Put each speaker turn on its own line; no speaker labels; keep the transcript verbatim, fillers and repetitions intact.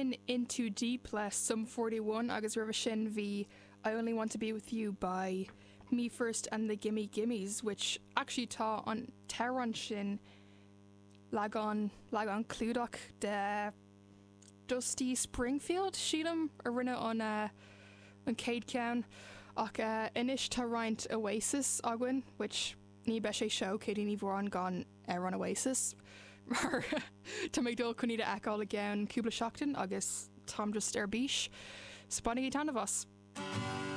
Sin In Too Deep le Sum forty one agus roimhe sin bhí I Only Want to Be With You by Me First and the Gimme Gimmes which actually tá an t-amhrán sin leagan leagan clúdach de Dusty Springfield sílim a rinne an uh, an chéad ceann ach uh, anois tá roinnt Oasis againn which ní bheadh sé seo Katie Ní Mhóráin gan ar an Oasis mar tá mé dul chun iad a fheiceáil i gceann cúpla seachtain agus táim just ar bís. So bainigí taitneamh as.